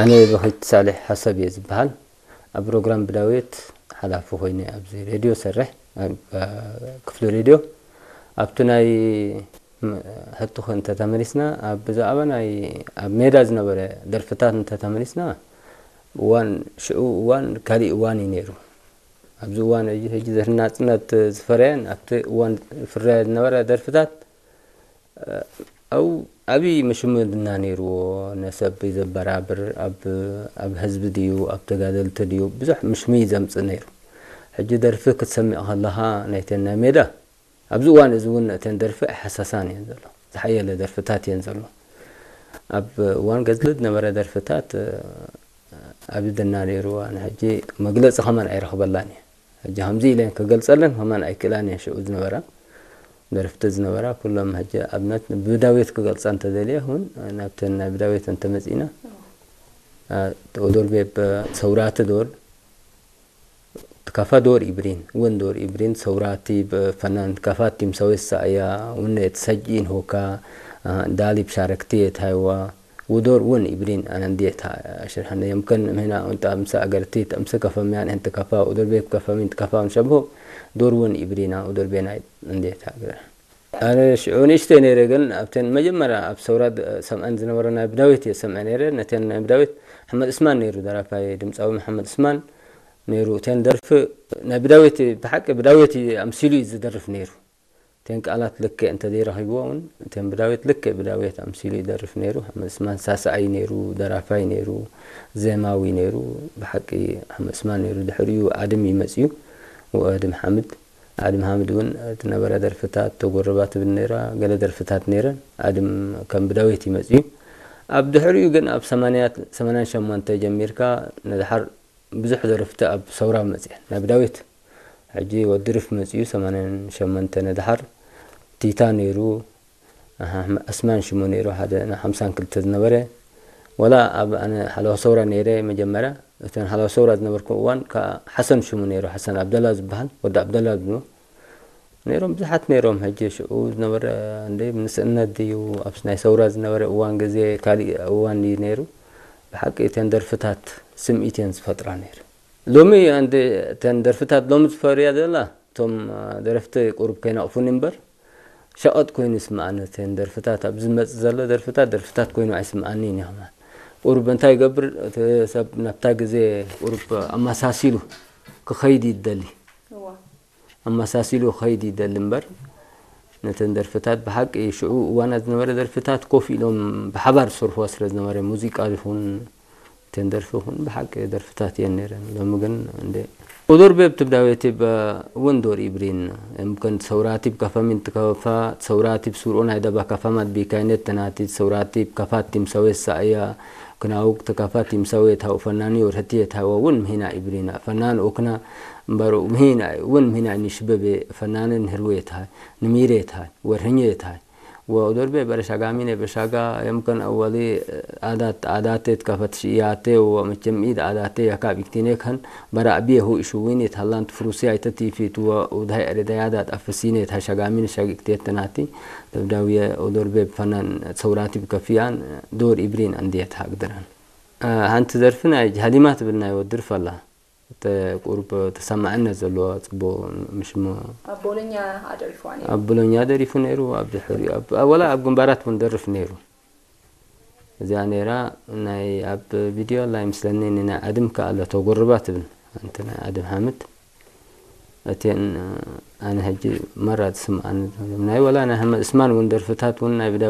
ኣነ በኺት ሳሌሕ ሓሳብ እየ ዝበሃል። ኣብ ፕሮግራም ብዳዊት ሓላፊ ኮይነ ኣብዚ ሬድዮ ሰርሕ፣ ኣብ ክፍሊ ሬድዮ። ኣብቲ ናይ ሕቶኹ እንተተመሊስና፣ ኣብ ብዛዕባ ናይ ኣብ ሜዳ ዝነበረ ደርፍታት እንተተመሊስና፣ እዋን ሽዑ እዋን ካሊእ እዋን እዩ ነይሩ። ኣብዚ እዋን እዚ ሕጂ ናጽነት ዝፈረየን ኣብቲ እዋን ፍረያ ዝነበረ ደርፍታት፣ ኣብኡ ዓብዪ ምሽምድና ነይርዎ። ነሰብ ዘበራብር፣ ኣብ ኣብ ህዝቢ ድዩ ኣብ ተጋደልቲ ድዩ ብዙሕ ምሽሚ ዘምጽእ ነይሩ። ሕጂ ደርፊ ክትሰምዕ ከለኻ ናይተን ናይ ሜዳ ኣብዚ እዋን እዚ እውን እተን ደርፊ ኣይሓሳሳን እየን ዘሎ። ዝሓየለ ደርፍታት እየን ዘሎ። ኣብ እዋን ገድሊ ዝነበረ ደርፍታት ኣብ ደና ነይሩ። ኣነ ሕጂ መግለጺ ከማን ኣይረኽበላን እየ። ሕጂ ከምዚ ኢለ ክገልጸለን ከማን ኣይክእላን እየ። ሽዑ ዝነበራ ደርፍቲ ዝነበራ ኩሎም ሕጂ ኣብነት ብዳዊት ክገልጻ እንተደልየ እውን ናብተን ናይ ብዳዊት እንተመጺእና፣ ኦዶር ቤብ ሰውራቲ ዶር ትካፋ ዶር ኢብሪን እውን ዶር ኢብሪን ሰውራቲ ፈናን ትካፋ ቲም ሰዌሳ እያ። እውን የተሰጂን ሆካ ዳሊ ብሻረክቲ የታይዋ ውዶር እውን ኢብሪን ኣነንዲየታ ሽርሐነ የምከን ምህና ወንጣ ምሰ ኣገርቲ ተምሰ ከፈሚያን እንት ከፋ ኡዶር ቤት ከፈሚን ትከፋ ሸብሆ ዶር እውን ኢብሪና ኡዶር ቤናይ እንዴታ ግረ ኣነ ሽዑ ንእሽተይ ነይረ፣ ግን ኣብተን መጀመርያ ኣብ ሰውራ ድ-፣ ሰምዐን ዝነበረ ናይ ብዳዊት እየ ሰምዐ ነይረ። ነተን ናይ ብዳዊት ሓመድ እስማን ነይሩ፣ ደራፋይ ድምፃዊ ሓመድ እስማን ነይሩ። እተን ደርፊ ናይ ብዳዊት ብሓቂ ብዳዊት ኣምሲሉ እዩ ዝደርፍ ነይሩ። እተን ቃላት ልክዕ እንተዘይረኺብዎ እውን እተን ብዳዊት ልክዕ ብዳዊት ኣምሲሉ ይደርፍ ነይሩ። ሓመድ እስማን ሳስዓይ ነይሩ፣ ደራፋይ ነይሩ፣ ዜማዊ ነይሩ። ብሓቂ ሓመድ እስማን ነይሩ። ድሕሪኡ ኣድም እዩ መፅዩ። ወኣድም ሓምድ ኣድም ሓምድ እውን እቲ ነበረ ደርፍታት ተጎረባ ትብል ነይራ፣ ገለ ደርፍታት ነይረን። ኣድም ከም ብዳዊት ይመጽእ እዩ። ኣብ ድሕሪኡ ግን ኣብ ሰማንያ ሰማንያን ሸሞንተ ጀሚርካ ንድሓር ብዙሕ ደርፍቲ ኣብ ሰውራ መጽኤን። ናብ ዳዊት ሕጂ ወዲ ርፍ መጽኡ ሰማንያን ሸሞንተ ንድሓር ቲታ ነይሩ፣ ኣስማን ሽሙ ነይሩ ሓደ ናይ ሓምሳን ክልተ ዝነበረ። ወላ ኣብ ኣነ ሓለዋ ሰውራ ነይረ መጀመርያ፣ እተን ሓለዋ ሰውራ ዝነበርኩ እዋን ከኣ ሓሰን ሽሙ ነይሩ፣ ሓሰን ኣብደላ ዝበሃል፣ ወዲ ኣብደላ ዝብሎ ነይሮም፣ ብዙሓት ነይሮም። ሕጂ ሽዑ ዝነበረ እንደ ንስእነት ድዩ ኣብ ናይ ሰውራ ዝነበረ እዋን ግዜ ካሊእ እዋን ድዩ ነይሩ? ብሓቂ እተን ደርፍታት ስምዒት እየን ዝፈጥራ ነይሩ። ሎሚ እንደ እተን ደርፍታት ሎሚ ዝፈርያ ዘላ እቶም ደረፍቲ ቁሩብ ከይነቕፉኒ እምበር ሸቐጥ ኮይኑ ይስምዓኒ። እተን ደርፍታት ኣብዚ ዝመጽእ ዘሎ ደርፍታት ደርፍታት ኮይኑ ኣይስምዓኒን እዩ። ከማን ቁሩብ እንታይ ይገብር እቲ ሰብ ናብታ ግዜ ቁሩብ ኣመሳሲሉ ክኸይድ ይደሊ። እዋ። ኣመሳሲሉ ክኸይድ ይደሊ እምበር ነተን ደርፍታት ብሓቂ ሽዑ እዋናት ዝነበረ ደርፍታት ኮፍ ኢሎም ብሓባር ዝሰርሕዋ ስለ ዝነበረ ሙዚቃ ይኹን እተን ደርፊ ይኹን ብሓቂ ደርፍታት እየን ነይረን። ሎሚ ግን እንደ ኡዱር ቤብ ትብዳዌቲ እውን ዶር ኢብሪን እምከን ሰውራቲ ብከፈሚን ትከፋ ሰውራቲ ብሱርኡ ናይ ደባ ከፋማት ቢካይነት ተናቲ ሰውራቲ ብከፋት ቲምሰዌት ሳእያ ክናውቅ ተከፋት ቲምሰዌት ሃው ፈናኒ ወርህቲ የታወ እውን ምህና ኢብሪና ፈናን ኦክና እምበሩ ምህና እውን ምህና ንሽበቤ ፈናንን ህርዌት ሃይ ንሚሬት ሃይ ወርህኘት ሃይ ወኡዶርቤ በረሻጋሚኔ በሻጋ የምከን ኣወሊ ኣዳት ኣዳቴት ከፈት ሽያቴ ወመቸም ኢድ ኣዳቴ ያካብ ኢክቲኔ ከን በራእቢየ ሁ እሹዊኔት ሃላንት ፍሩሲያ ይተቲፊት ወኡድሃይ ዕርዳያዳት ኣፈሲኔት ሃሻጋሚን ሻጊቅቴት ተናቲ ደብዳውየ ኡዶርቤ ፈናን ሰውራቲ ብከፊያን ዶር ኢብሪን ኣንድየት ሃግድረን። ሓንቲ ዘርፊ ናይ ሃሊማ ትብል ናይ ወድርፍ ኣላ። እቲ ቁሩብ ተሰማዕነት ዘለዎ ጽቡቕ ምሽሞ ኣብ ቦሎኛ ኣደሪፍዋ ነይሩ። ኣብ ቦሎኛ ደሪፉ ነይሩ። ኣብ ድሕሪኡ ኣብ፣ ኣብ፣ ወላ ኣብ ግንባራት እውን ደርፍ ነይሩ። እዚኣ ነይራ ናይ ኣብ ቪድዮ ኣላ ይመስለኒ፣ ንናይ ኣድም ከኣ ኣሎ ተጎርባ ትብል። ኣንቲ ናይ ኣድም ሓምድ። እተን ኣነ ሕጂ መራ ዝስምዓኒ ዘሎ ናይ ወላ ናይ ሓመድ እስማን እውን ደርፍታት እውን ናይ ብዳዊ